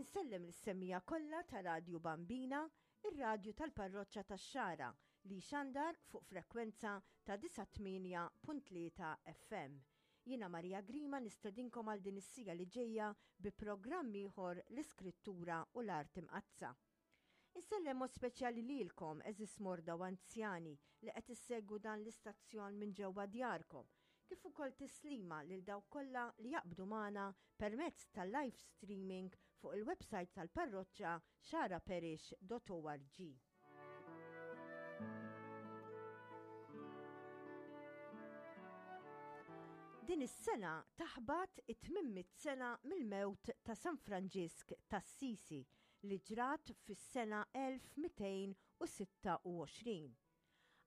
Insellem lis-semmiegħa kollha ta' Radju Bambina, ir-radju tal-Parroċċa tax-Xagħra li jxandar fuq frekwenza ta' 98.3 FM. Jiena Maria Grima nistedinkom għal din is-siegħa li ġejja bi programm ieħor l-Iskrittura u l-Art Imqaddsa. Insellem mod speċjali lilkom, għeżież morda u anzjani li qed issegwu dan l-istazzjon minn ġewwa djarkom, kif ukoll tislima lil dawk kollha li jaqbdu magħna permezz tal-live streaming fuq il-website tal-parroċċa xaraparish.org. Din is-sena taħbat it-800 sena mill-mewt ta' San Franġisk t'Assisi li ġrat fis-sena 1226.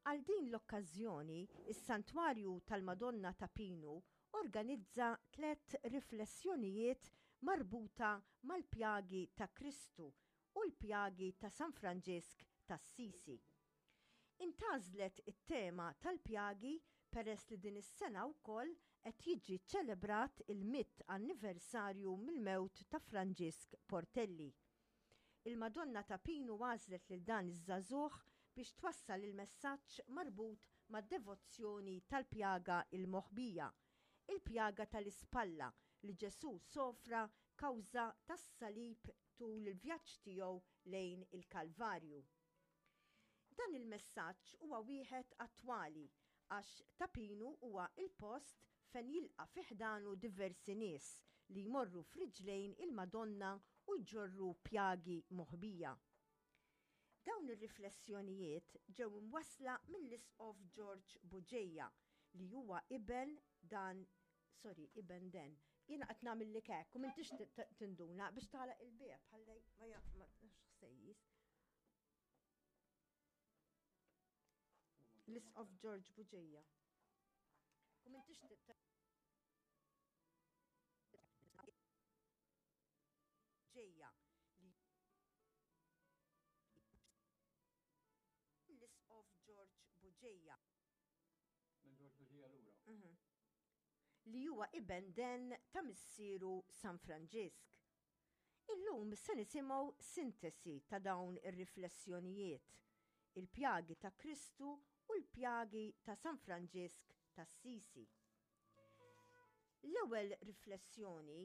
Għal din l-okkażjoni, is-Santwarju tal-Madonna ta' Pinu organizza tlett riflessjonijiet marbuta mal-pjagi ta' Kristu u l-pjagi ta' San Franġisk t'Assisi. Intgħażlet it-tema tal-pjagi peress li din is-sena wkoll qed jiġi ċċelebrat il-mitt anniversarju mill-mewt ta' Franġisk Portelli. Il-Madonna ta' Pinu għażlet lil dan iż-żagħżugħ biex twassal il-messaġġ marbut mad-devozzjoni tal-pjaga l-moħbija, il-pjaga tal-ispalla li Ġesù sofra kawża tas-salib tul il-vjaġġ tiegħu lejn il-Kalvarju. Dan il-messaġġ huwa wieħed attwali għax Ta' Pinu huwa l-post fejn jilqa' fi ħdanu diversi nies li jmorru f'riġlejn il-Madonna u jġorru pjagi moħbija. Dawn ir-riflessjonijiet ġew imwassla mill-Isqof George Bugeja li huwa iben dan sorry, iben den. Jiena qed nagħmillek hekk u m'intix tinduna biex tagħlaq il-bieb ħalli ma ħsejjis. L-Isqof George Bugeja. U m'intix ġejja li l-Isqof George Bugeja. Minn George Bugeja lura. Mhm. Li huwa iben den ta' missieru San Franġisk. Illum se nisimgħu sintesi ta' dawn ir-riflessjonijiet, il-pjagi ta' Kristu u l-pjagi ta' San Franġisk t'Assisi. L-ewwel riflessjoni.